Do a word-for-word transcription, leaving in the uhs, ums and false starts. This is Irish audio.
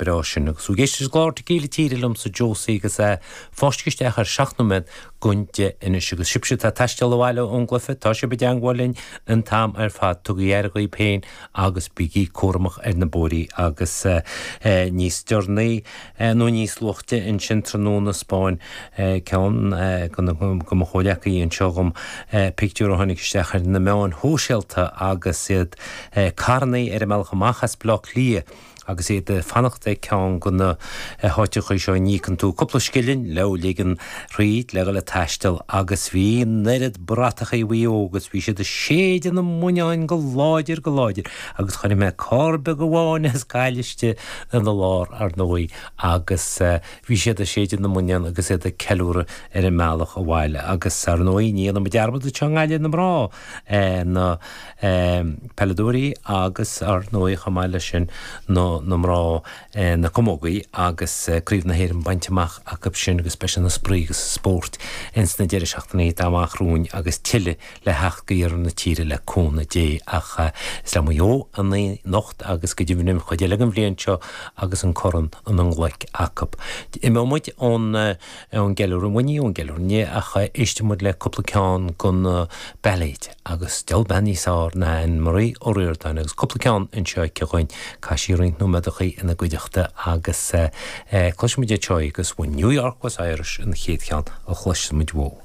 breá sin agus tú ag éisteacht leis an gclár Tequila Tíre liomsa Josie agus é fáiscthe isteach ar seacht nóiméad don deich anois agus sibhse atá ag taisteal abhaile ón gcluiche tá sibh i dteangmháil linn an t-am ar fad tugaigí aire dhaoibh féin agus bígí cúramach ar na bóithrí agus níos deireanaí nó níos luaithe ansin tráthnóna 'spáin ceann de mo chomhghleacaithe anseo dhom pictiúr a tháinig isteach ar na meáin shóisialta agus iad carrannaí ar a mbealach amach as Baile Átha Cliath agus iad ag fanacht ag ceann de na háiteacha seo a n-íocann tú cúpla scilling le ligean thríd le dhul ag taisteal agus bhí an oiread bratachaí Mhaigh Eo agus bhí siad ag séideadh na mbuinneáin go láidir go láidir agus chonaic mé carr beag amháin as Gaillimh istigh ina lár ar ndóigh agus bhí siad ag séideadh na mbuinneán agus iad ag ceiliúradh ar an mbealach abhaile agus ar ndóigh ní dhéanfaidh muid dearmad anseo i nGaillimh na mná na peileadóirí agus ar ndóigh chomh maith leis sin na na mná na camógaí agus Craobh na hÉireann bainte amach acu sin agus beidh sé ina spraoi agus spórt ins na deireadh seachtainí atá amach romhainn agus tuilleadh le theacht go iarthar na tíre le cúnamh Dé ach is le Maigh Eo anocht agus go deimhin an chuid eile den bhliain seo agus an corn ina nglaic acu. Imeoidh muid ón ón gceiliúradh muiní ón gceiliúradh inné ach éistfidh muid le cúpla ceann den bailéid agus diabhal bean níos fearr ná Anne Marie Ó Ríordáin agus cúpla ceann anseo aici dhuinn chaith sí roinnt nóiméadachaí ina gcuideachta agus cloisfidh muid anseo agus When New York was Irish an chéad cheann a chloisfidh muid uaithi.